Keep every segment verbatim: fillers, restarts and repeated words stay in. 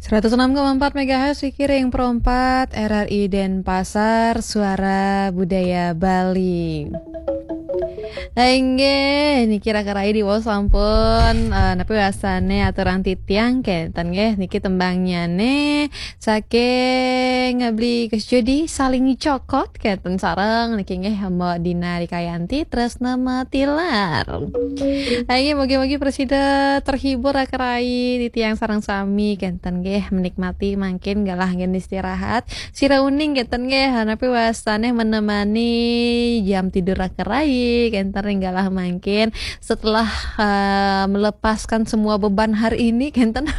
Seratus enam koma empat megahertz Wiki ring Pro empat R R I Denpasar, Suara Budaya Bali. Inggih, niki Raka Rai diwaos sampun, eh, napi wastane aturang titiang kenten nggih, niki tembangnyané saking Beli Gus Judi, Saling Cokot kenten sareng niki nggih Mbok Dina Rikayanti Tresna Matilar. Inggih, mugi-mugi prasida terhibur Raka Rai titiang sareng sami kenten nggih menikmati mangkin galah anggen istirahat. Sira uning kenten nggih, napi wastane menemani jam tidur Raka Rai kenten ring galah mangkin setelah, eh, melepaskan semua beban hari ini kenten.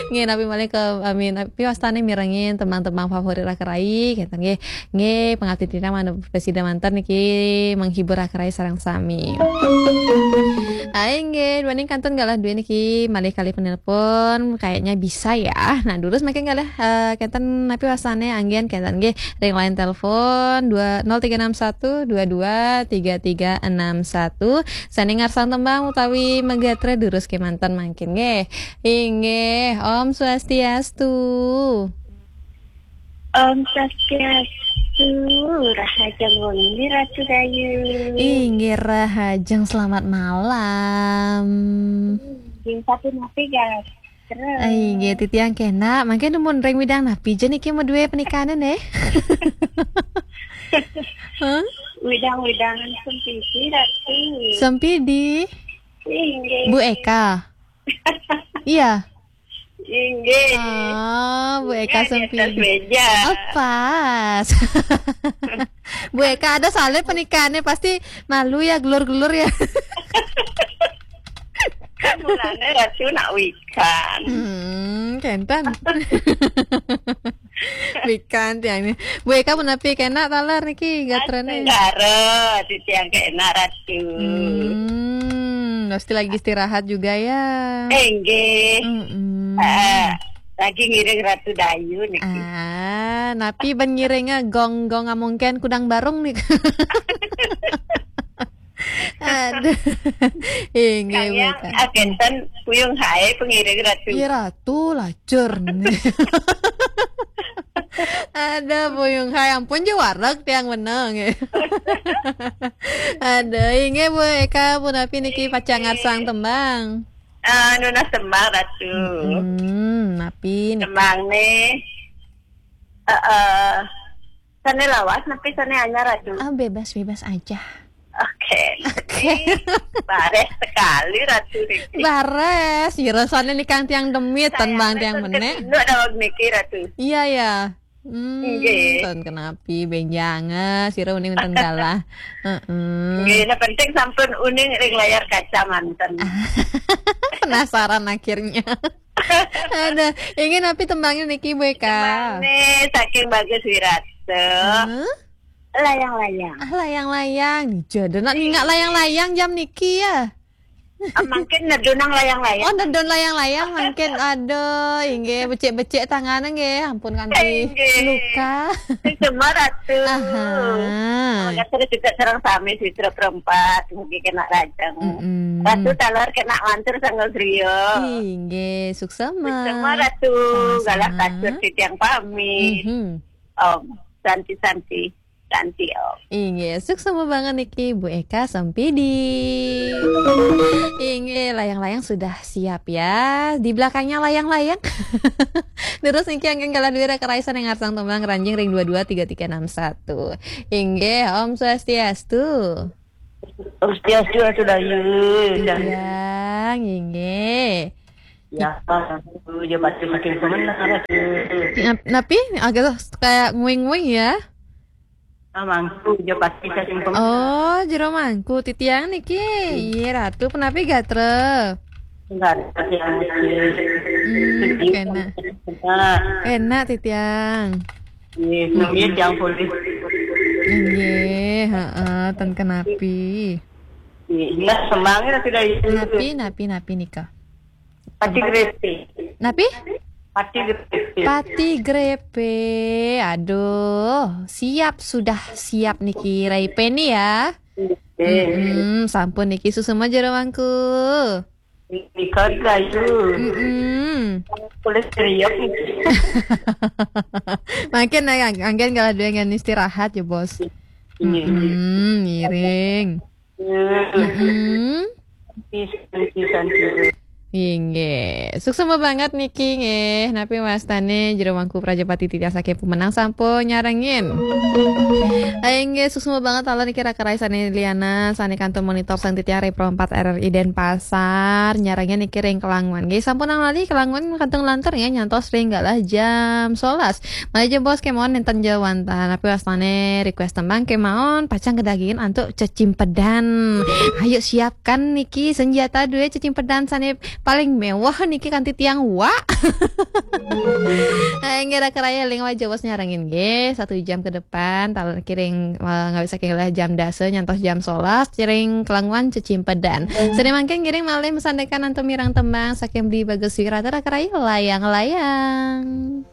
Nggih, napi malih ke, amin, napi wastane mirengin tembang-tembang favorit Raka Rai kenten nggih. Nggih, pangabdi titiang manut prasida manten niki menghibur Raka Rai sareng sami. Inggih, duaning kantun galah duwe niki malih kalih penelpon, kayaknya bisa ya. Nah, durus mangkin galah, eh, kenten napi wastane anggen kenten nggih ring line telepon dua nol tiga enam satu dua dua tiga tiga enam satu. Sane ngarsang tembang utawi magatra durus kemanten mangkin nggih. Inggih, Om Swastiastu. Om Swastiastu, rahajeng wengi Ratu Dayu. Inggih, rahajeng selamat malam. Inggih, sapunapi, guys? Terus. Inggih, titiang kenak. Mangkin numun ring widang napi ja niki madué penikane, neh? Hah? Widang-widangan Sempidi, Ratu. Sempidi? Inggih. Bu Eka? Iya. Inggih. Oh, Bu Eka Sempidi. Di atas meja. Oh, pas. Bu Eka ada soalnya pernikahannya pasti malu ya, gelur-gelur ya. Kan mulane Ratu nak wikan. Hmm, kenten. Wikan tiang ni. Bu Eka punapi kenak taler niki gatrane? Negara, titiang kenak Ratu. Hmm, pasti lagi istirahat juga ya. Inggih. Mm-mm. Ah, lagi ngiring Ratu Dayu niki. Ah, napi ben ngiringnya gong-gong amungken kudang barung nih. Aduh. Inggih, kayang Bu Eka. Kenten puyung hae pengiring Ratu. Iya, Ratu, lacur. Ada puyung hae, ampun je wareg tiang meneng. Ada, inggih Bu Eka, punapi niki pacang ngarsang tembang? Eh, nunas tembang, Ratu. Hmm, napi niki? Tembang nih. Eh, eh, sane lawas, napi sane anyar, Ratu? Ah, bebas-bebas aja. Oke. Oke. Ini bares sekali, Ratu niki. Bares, ya rasane nikang tiang demit, tembang tiang menek. Daweg niki, Ratu. Iya, ya. Hmm, inggih. Ten kenapi, benjang, eh, sira uning ten galah. Heeh. Nggih, nah penting sampun uning ring layar kaca manten. Penasaran akhirnya. Ada, inggih napi tembangnya niki, Bu Eka? Tembangnya saking Bagus Wirata. Hah? Layang-layang. Ah, layang-layang. Jodoh nak ningak layang-layang jam niki ya. Ah, mangkin nedunang layang-layang. Oh, nedun layang-layang mangkin. Aduh, inggih becik-becik tangane nggih. Ampun kanti luka. Inggih. Semua Ratu. Aha. Mangga terus juga sareng sami sisra perempat. Mugi kenak rajang. Mm-mm. Ratu taler kenak lantur sangga griya. Inggih, suksema. Suksema Ratu. Sama-sama. Galah katur titiang pamit. Mhm. Om Santi Santi. Santi, Om. Inggih, suksema banget niki Bu Eka Sempidi. Inggih, layang-layang sudah siap ya. Di belakangnya layang-layang. Terus niki anggen galah duwe Raka Rai sane ngarsang tembang ranjing ring dua dua tiga tiga enam satu. Inggih, Om Swastiastu. Om Swastiastu, Ratu Dayu. Tiang, inggih. Ya, Ratu, ya, pati makin semenang, Ratu. Nap-, napi? Agak kayak nguing-nguing ya? Ah, mangku, ya, pati saking pem- Oh, jero mangku. Titiang niki. Iya, Ratu, punapi gatra? Enggak ada yang Hmm, sedih. Enak. Enak. Enak, titiang. Iya, namanya tiang polisi. Inggih, heeh, ten kenapi. Iya, semangat sudah itu. Napi, napi, napi nika? Pati grepe. Napi? Pati grepe. Pati grepe. Aduh, siap sudah siap niki Rai Peni ya. Iya. Mm-mm, sampun niki suksema jero mangku. Nika Dayu. Mm-mm. Boleh serius gitu. Makin ya, anggen kalau dua yang istirahat ya, Bos. Iya, iya. Hmm, ngiring. Iya. Hmm. Santi, santi, santi. Inggih. Suksma banget niki nggih. Napi wastane jero mangku Prajapati titiang saking Pemenang sampun nyarengin. Inggih, suksma banget taler niki raka rai sane lianan sane kantun monitor sang titiang ring Pro empat R R I Denpasar nyarengin niki ring Kelangwan. Nggih, sampun nang lali Kelangwan kantun lantur nggih nyantos ring galah jam sebelas. Malih jebos kemawon nenten jero wantah. Napi wastane request tembang kemawon pacang kedagingin antuk cecimpedan. Ayo siapkan niki senjata dua cecimpedan sane paling mewah niki kanti tiang wa. Nah, inggih raka rai ring wajah bos nyarengin nggih satu jam ke depan taler niki ring eh, ngawit saking galah jam dasa nyantos jam sebelas ring Kelangwan cecimpedan. Sane mangkin ngiring malih masandekan antuk mireng tembang saking Beli Bagus Wirata raka rai layang-layang.